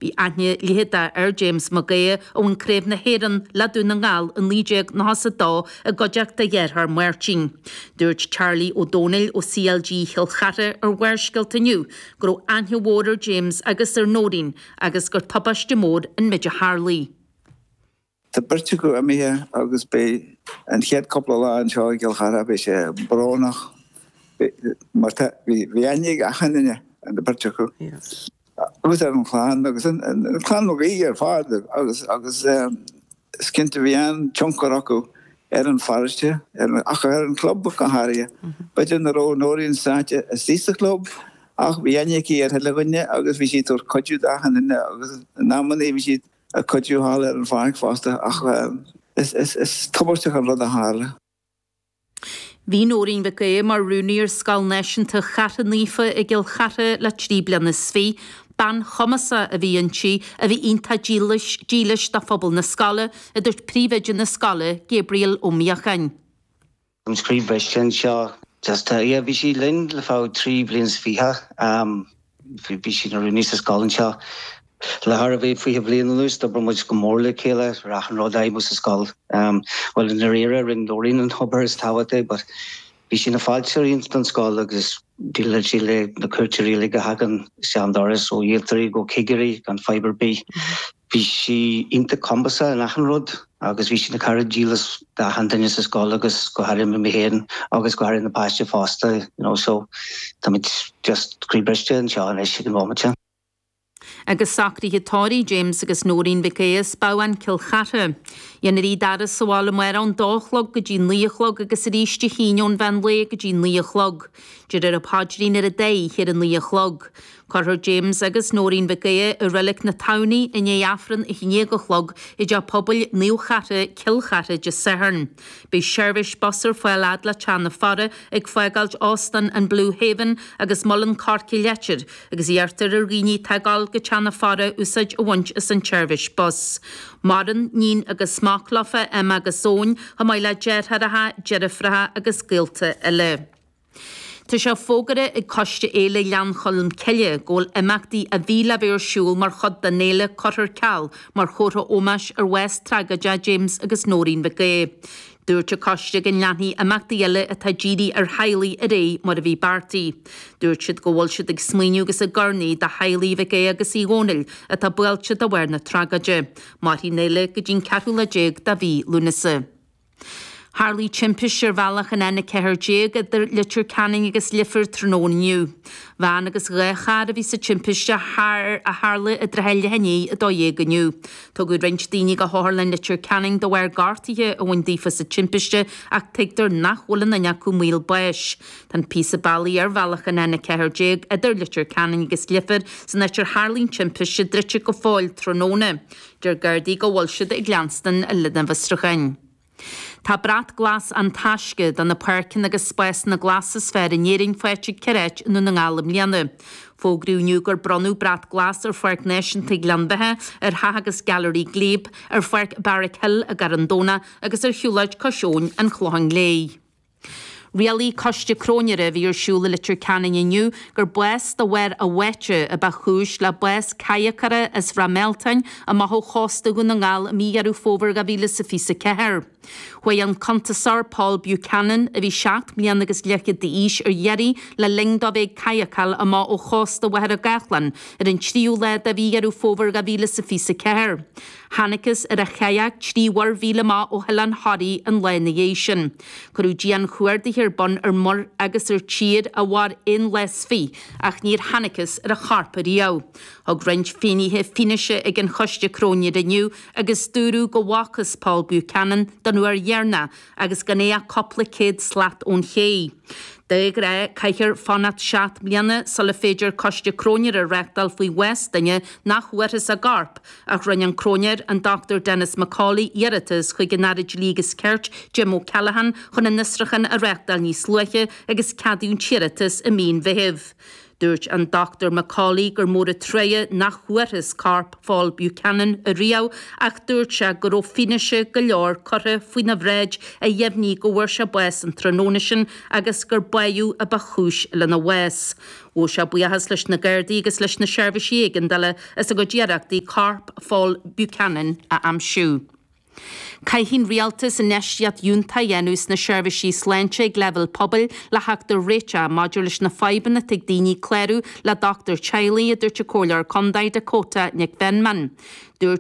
Bhí aithne leitheadach ar James Mac Aodha a bhain Craobh na hÉireann le Dún na nGall i 1992 i gcuideachta a dhearthár Máirtín. Dúirt Charlie Ó Domhnaill ó CLG Chill Chartha ar Bharrscéalta inniu go raibh aithne mhór ar James agus ar Nóirín agus gur tubaiste mór an méid a tharlaigh. Tá beirt acu imithe agus beidh an chéad cúpla lá anseo i gCill Chartha, beidh sé brónach mar tá, bhí aithne ag achan duine ar na beirt acu. Agus ar an chlann agus an clann Mac Aoidh ar fad agus agus is cinnte bhí an-tionchar acu ar an pharóiste ach ar an chlub go háirithe. B'fhéidir nach raibh Nóirín sáite istigh sa chlub ach bhí aithne aici ar chuile dhuine agus bhí sí ag tabhairt cuidiú d'achan duine agus in amannaí bhí sí ag cuidiú thall ar an pháirc fosta ach is tubaisteach an rud a tharla. Bhí Nóirín Mhic Aodha mar rúnaí ar Scoil Náisiúnta Chartha Naofa i gCill Chartha le 23 bliana. Bean chumasach a bhí inti, a bhí iontach dílis, dílis do phobal na scoile, a dúirt príomhoide na scoile, Gabriel Ó Míocháin. An croí briste anseo. Just, yeah, bhí sí linn le feadh 23 bliain. Bhí sí ina rúnaí sa scoil anseo le thar a bheith 20 bliain anuas. D'oibir muid go mór le chéile ar achan rud a fheidhmiú sa scoil. Bhuel, i ndáiríre, rinne Nóirín an obair is tábhachtaí but bhí sí ina fáilteoir iontach don scoil agus déileáil sí le na cuairteoirí uilig a thagann isteach an doras, ó dhíoltóirí go cigirí gan fadhb ar bith. Bhí sí iontach cumasach in achan rud agus bhí sí ina cara dílis d'achan duine sa scoil agus go háirithe mé féin agus go háirithe na páistí fosta you know so táimid just croí briste anseo anois ag an bhomaite. Agus socruithe tórraimh James agus Nóirín Mhic Aodha as Babhán, Cill Chartha. Dhéanfar iad a fhaire sa bhaile amárach ón dó a chlog go dtí 9 a chlog agus arís Dé hAoine ón mheán lae go dtí 9 a chlog. Déarfar an paidrín ar an dá oíche ar a 9 a chlog. Cuirfear James agus Nóirín Mhic Aodha i Reilig na Tamhnaí i ndiaidh Aifreann a 11 a chlog i dTeach Pobail Naomh Chartha, Cill Chartha Dé Sathairn. Beidh seirbhís bus ar fáil fhad le Teach na Faire ag fágáilt Óstán an Blue Haven agus Muileann Coirce Leitir agus iarrtar ar dhaoine atá ag dul go Teach na Faire úsáid a bhaint as an tseirbhís bus. Maireann níon agus mac leofa, Emma agus Eoin, chomh maith le deartháireacha, deirfiúracha agus gaolta eile. Tá sé fógartha ag Coiste Fhéile Ghleann Cholm Cille go bhfuil imeachtaí a bhí le bheith ar siúl mar chuid den fhéile curtha ar ceal mar chomhartha ómóis ar bhás tragóideach James agus Nóirín Mhic Aodha. Dúirt an coiste go leanfaidh imeachtaí eile atá dírithe ar theaghlaigh ar aghaidh mar a bhí beartaithe. Dúirt siad go bhfuil siad ag smaoineamh agus ag urnaí do theaghlaigh Mhic Aodha agus Uí Dhónaill atá buailte de bharr na tragóide. Mairfidh an fhéile go dtí an ceathrú lá déag de mhí Lúnasa. Tharlaigh timpiste ar bhealach an N14 idir Leitir Ceanainn agus Leifear tráthnóna inniu. Veain agus 2 charr a bhí sa timpiste a tharla i dtrátha leath i ndiaidh 12 inniu. Tugadh roinnt daoine go hOtharlann Leitir Ceanainn de bharr gortuithe a bhain daofa sa timpiste ach tuigtear nach bhfuil aon duine acu i mbaol báis. Tá an píosa bealaigh ar bhealach an N14 idir Leitir Ceanainn agus Leifear san áit ar tharlaigh an timpiste druidte go fóill tráthnóna. Deir Gardaí go bhfuil siad ag leanstan lena bhfiosrúcháin. Tá Brat Glas An Taisce do na páirceanna agus spásanna glasa is fearr in Éirinn faighte ag 4 áit i nDún na nGall i mbliana. Fógraíodh inniu gur bronnadh Brat Glas ar Pháirc Náisiúnta Ghleann Bheatha, ar Theach agus Gailearaí Glebe, ar Pháirc Barrack Hill i gCarn Domhnach agus ar Shiúlóid Cois Abhainn an Chlocháin Léith. Rialaigh coiste cróinéara a bhí ar siúl i Leitir Ceanainn inniu gur bás de bharr a bháite a ba chúis le bás cadhacóra as Ráth Mealtain amach ó chósta Dhún na nGall i mí Dheireadh Fómhair 2024. Chuaigh an cuntasóir Paul Buchanan, a bhí 7 mbliana agus leathchéad d'aois, ar iarraidh le linn dó bheith ag cadhacáil amach ó chósta Mhachaire Gathlán ar an tríú lá de mhí Dheireadh Fómhair 2024. Thángthas ar a chadhc 3 mhuir-mhíle amach ó Oileán Thoraí an lá ina dhiaidh sin. Cuireadh dian-chuardaithe ar bun ar muir agus ar tír a mhair aon lá is fiche ach níor thángthas ar a chorp ariamh. Thug roinnt finnéithe fianaise ag an choiste cróinéara inniu agus dúradh go bhfacthas Paul Buchanan don uair dheireanach agus gan é ach cúpla céad slat ón ché. De ghnáth, caithfear fanacht 7 mbliana sula féidir coiste cróinéara a reáchtáil faoi bhás duine nach bhfuarthas a gcorp, ach rinne an cróinéir, an Dr Denis McCauley, iarratas chuig an Aire Dlí agus Cirt, Jim O'Callaghan, chun an fhiosrúchán a reáchtáil níos luaithe agus ceadaíodh an t-iarratas i mí an Mheithimh. Dúirt an Dr McCauley gur mór an truaighe nach bhfuarthas corp Phól Buchanan ariamh ach dúirt sé go raibh fianaise go leor curtha faoina bhráid a dheimhnigh go bhfuair sé bás an tráthnóna sin agus gur báitheadh a ba chúis lena bhás. Ghabh sé buíochas leis na Gardaí agus leis na seirbhísí éigeandála as a gcuid iarrachtaí corp Phól Buchanan a aimsiú. Caithfidh an Rialtas infheistíocht fhiúntach a dhéanamh sna seirbhísí sláinte ag leibhéal pobail le theacht ar réiteach maidir leis na fadhbanna atá ag daoine clárú le dochtúir teaghlaigh, a dúirt an Comhairleoir Contae Dakota Nic Mheanman. Dúirt.